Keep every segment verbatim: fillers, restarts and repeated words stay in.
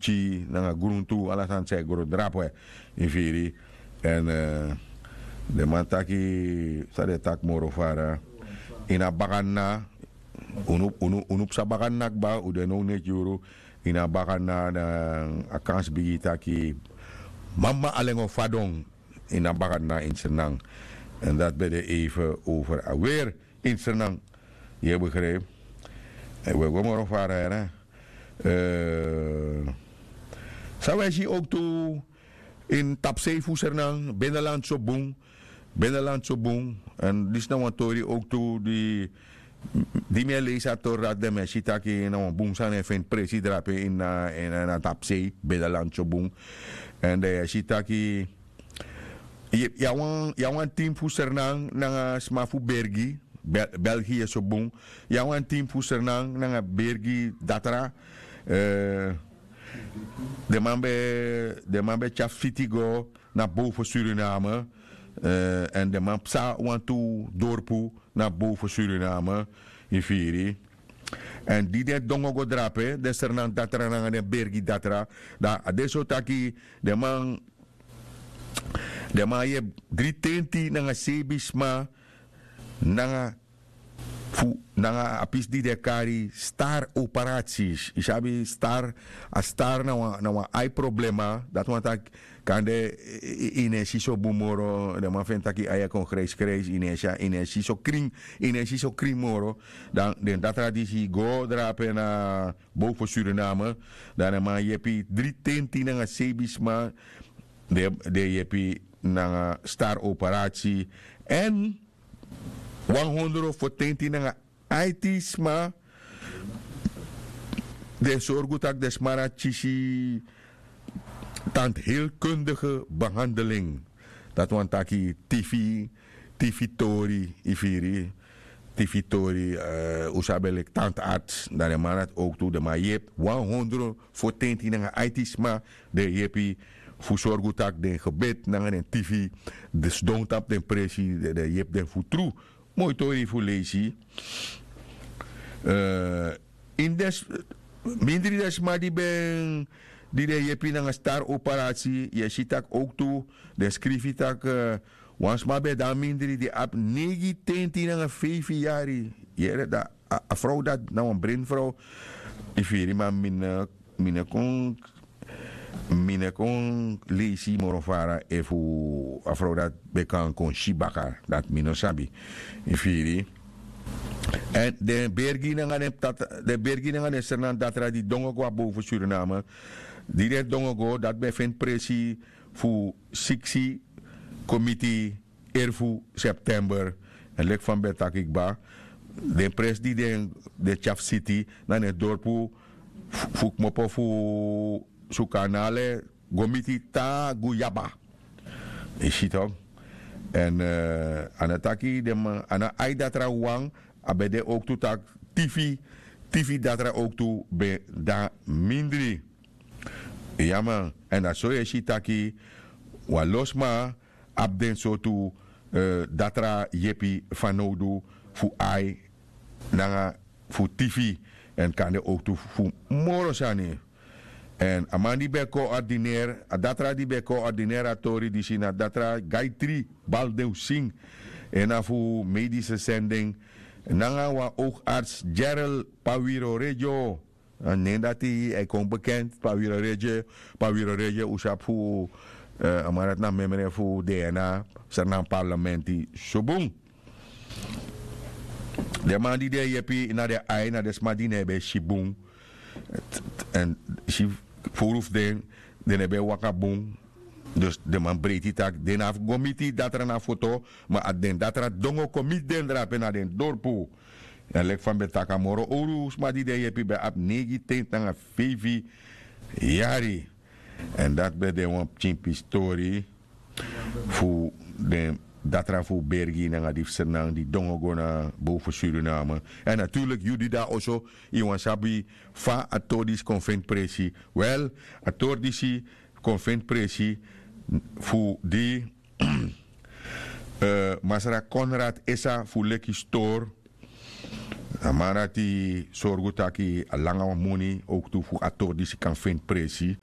tyi nanga gruntu ala sani san e gro drape. Yu firi? Èn den man taki san den taki moro fara ini a bakadna. Unu psa bakadna kba un de now neti yuru ini a bakadna dan a kansi bigi taki mama alen go fadon ini a bakadna ini sernang. Èn dati ben de eife over a weri ini sernang. Yu e begripi? We go moro fara ya na san wi e si owktu ini tapsei fu sernang. Beneland so bun. Beneland so bun. Èn disi na wan tori owktu di di mi e leisi a tori dati den mi e si taki na wan bun sani e feni presi drape ini a tapsei. Beneland so bun. Èn den e si taki yu abi wan tim fu sernang nanga sma fu bergi. Belgi yu e so bun. Yu abi wan tim fu sernang nanga bergi datra. Den man ben tyari fiti go na bow fu suriname. Èn den man psa wantu dorpu na bow fu suriname. Yu firi? Èn di den dongo go drape den sernang datra nanga den bergi datra, dan a de so taki den man den man yepi dri tenti nanga seibin sma nanga fu nanga a pisi di den e kari star operasi. Yu sabi star? A star na wan ai problema dati wani taki kande yu no e si so bun moro. Den man feni tak' yu ai e kon grijsgrijs yu no e si so krin. Yu no e si so krin moro. Dan den datra disi go drape na bow fu suriname. Dan den man yepi dri tenti nanga seibin sma. Den yepi nanga star operasi èn wan hondro fu tenti nanga aiti sma. Den sorgu tak' den sma dati kisi tandheelkundige behandeling. Dati wani taki tifi tifi tori yu firi? Tifi tori un sabi en leki tandarts dan den man dati owktu den man yepi wan hondro fu tenti nanga aiti sma. Den yepi fu sorgu tak' den gebit nanga den tifi den sidon tapu den presi den yepi den fu tru. Moi tori fu leisi. Ini den mindri den sma di ben di den yepi nanga star operasi yu e si tak' owktu den skrifi tak' wan sma ben de na mindri di abi neigi tenti nanga feifi yari. Yere dan a frow dati na wan brenfrow. Yu firi ma mi no mi no kon mi no kon leisi moro fara efu a frow dati ben kan kon si baka dati mi no sabi. Yu firi? Èn den bergi nanga den tata den bergi nanga den sernandatra di dongo go a bow fu suriname. Di den dongo go dati ben feni presi fu siksi komiti erfu september. Èn leki fa mi ben taki kba den presi di den tyari fu siti na den dorpu fu kmopo fu sukanale go miti tan guyaba. Yu si tok'? Èn a no taki den man a no ai datra wawan. A ben de owktu tak' tifi tifi datra owktu ben de na mindri. Ya man. Èn na so yu e si taki wan lo sma abi den sortu datra yepi fanowdu fu ai nanga fu tifi èn kande owktu fu moro sani. Èn a man di ben koordineri a datra di ben koordineri a tori disi na datra gaitri baldewsing. En na fu medische sending nanga wan oogarts gerald pawiro regio. A nen dati e kon bekend pawiro regio. Pawiro regio un sabi fu a man dati na memre fu dna sernan parlementi. Subun den man di den yepi na den ai na den sma di no e ben si bun. Èn si fowru fu den den no ben waka bun. Dus den man breiti tak' den no abi go miti datra na foto. Ma a den datra dongo kon miti den drape na den dorpu. Èn leki fa mi ben taki a moro owru sma di den yepi ben abi neigi tenti nanga feifi yari. Èn dati ben de wan pikin pistori fu den datra fu bergi nanga di fu sernan di dongo go na bow fu suriname. Èn naturliki yu di de na oso yu wani sabi fa a tori disi kon feni presi. Wel, a tori disi kon feni presi fu di masra konrad esa fu leki stori A man dati sorgu taki a langa wan moni owktu fu a tori disi kan feni presi.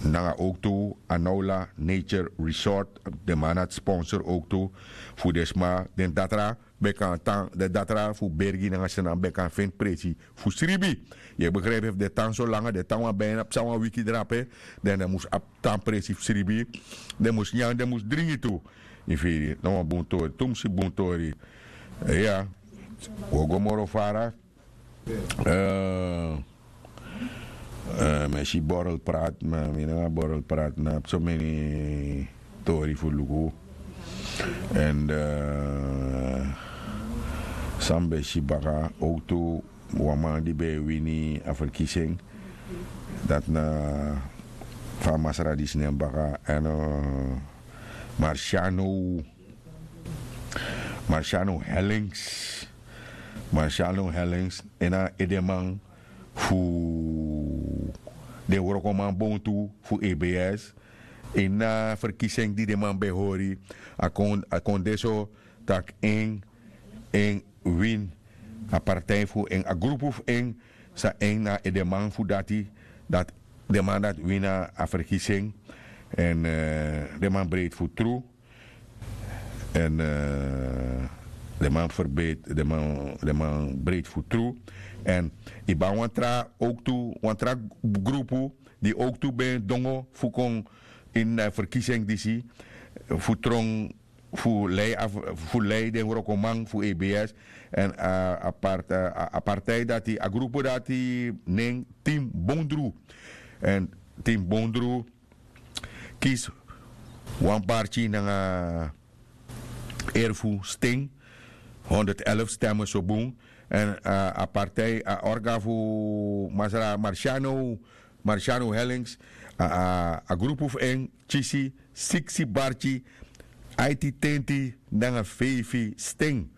Nanga owktu a naula nature resort, den man dati sponsor owktu fu den sma, den datra ben kan tan, den datra fu bergi nanga snan ben kan feni presi fu sribi. Yu e begrijpi? Efu den tan so langa, den tan wan bijna psa wan wiki drape, dan den mus abi tan presi fu sribi. Den mus nyan, den mus dringi tu. Yu firi? Na wan bun tori, tumsi bun tori. Iya. Wi o go moro fara. Eh, eh, mi e si borrel praat, ma mi nanga borrel praat na so meni tori fu luku. En eh, san mi ben si baka owktu wan man di ben e wini a verkiezing, dati na fa a masra disi nen baka, en eh, Marciano, Marciano Hellings. Marciano Hellings, en na edeman fu den wrokoman bontu fu E B S. Ini a verkiezing di den man ben hori, a kon, a kon de so tak' en, en win. A partij fu en, a grupu fu en, san en na edeman fu dati, dati den man dati wini a verkiezing. En eh, den man breiti fu tru. En eh, den man verbeteri, den man, den man breiti fu tru. En yu ben abi wan tra owktu, wan tra grupu di owktu ben dongo fu kon ini a verkiezing disi, fu tron, fu lei, fu lei den wrokoman fu E B S. En a, a part-, a, a partij dati, a grupu dati nen Team Bondru. En Team Bondru kisi wan barki nanga erfu sten, honderd elf stemmen so bun. En eh, a partij, a orga fu masra Marciano, Marciano Hellings, a, a, a grupu fu en kisi siksi barki aiti tenti nanga feifi sten.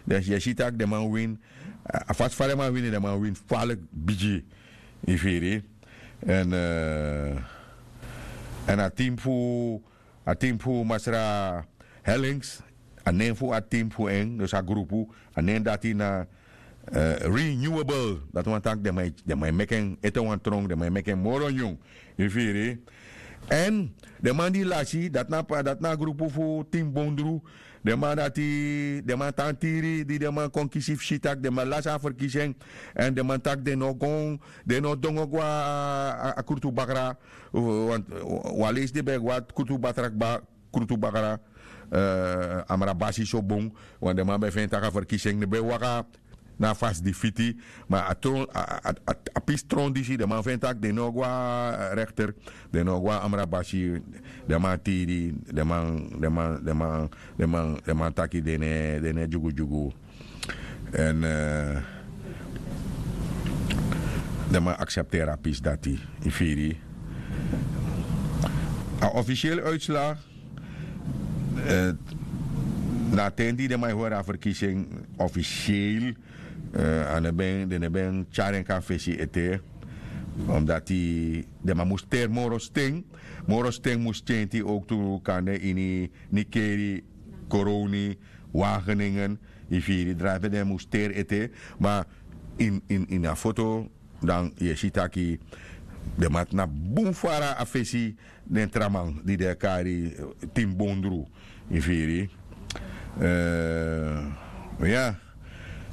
Dus yu e si tak' den man wini, a, a fasi fa den man wini, den man wini faliki bigi. Yu firi? En eh, en a team fu, a team fu masra Hellings, a nen fu a team fu en, dus a grupu, a nen dati na eh, Renewable. Dati wani taki den man e, den man e meki en ete wan tron, den man e meki en moro nyun. Yu firi? En den man di lasi, dati na, dati na a grupu fu Team Bondru. Den man dati, den man tan tiri di den man kon kisi fu si tak' den man lasi a verkiezing. En den man taki den no kon, den no dongo go a, a, a Krutu Bakra. Wan, wan leisi den ben go a Krutu Bakra, kba, Krutu Bakra, eh, Amrabasi so bun. Wan den man ben feni tak' a verkiezing no ben waka na a fasi di fiti. Ma a tron, a, a, a, a pisi tron disi, den man feni tak' den no go a rechter, den no go a Amrabasi. Den man tiri, den man, den man, den man, den man, den man taki den no e, den no e dyugudyugu. En eh, den man aksepteri a pisi dati. Yu firi? A officiële uitslag, eh, na a ten di den man e hori a verkiezing officieel, eh, a no ben, den no ben tyari en kon na fesi ete. Omdati den man mus teri moro sten, moro sten mus tyenti owktu kande ini Nickerie, Coronie, Wageningen. Yu firi? Drape den mus teri ete. Ma ini, ini, ini a foto, dan yu e si taki den man tnapu bun fara a fesi den tra man di den e kari, eh, Team Bondru. Yu firi? Eh, ya.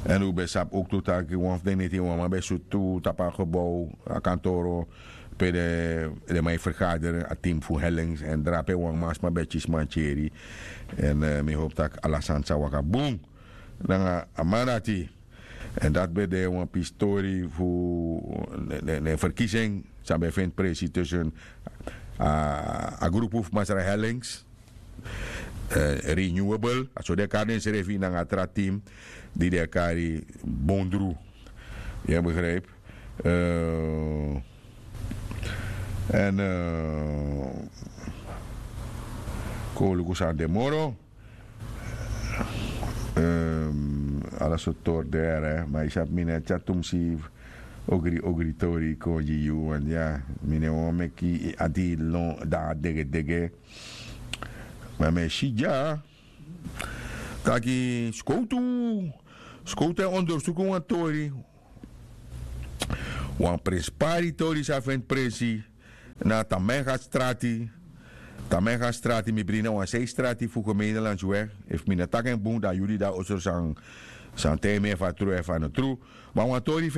En un ben sabi owktu taki wan fu den neti wan man ben sutu tapu a gebouw, a kantoro, pe den, den man e vergaderi, a team fu Hellings, en drape wan man sma ben kisi mantyeri. En eh, mi howpu tak' ala sani sa waka bun nanga a man dati. En dati ben de wan pisi tori fu den, den, den verkiezing san ben feni presi tussen a, a grupu fu masra Hellings, eh, Renewable, a so den e kari densrefi, nanga a tra team di den e kari Bondru. Yu e begrijpi? Eh, en eh, kon un luku san de moro. Ehm, ala sortu tori de, hè, ma yu sabi mi no e tyari tumsi ogri ogri tori kon gi yu, want ya, mi no wani meki yu ati lon dati degedege. Ma mi e si dya taki skowtu, Skowtu e ondersuku wan tori, wan prenspari tori san feni prensi na tamenga strati. Tamenga strati mi bringi na wan sei strati fu gemene landsweg. Efu mi no taki en bun dan yu di de na osro san san taigi mi efu a tru efu a no tru. Ma wan tori feni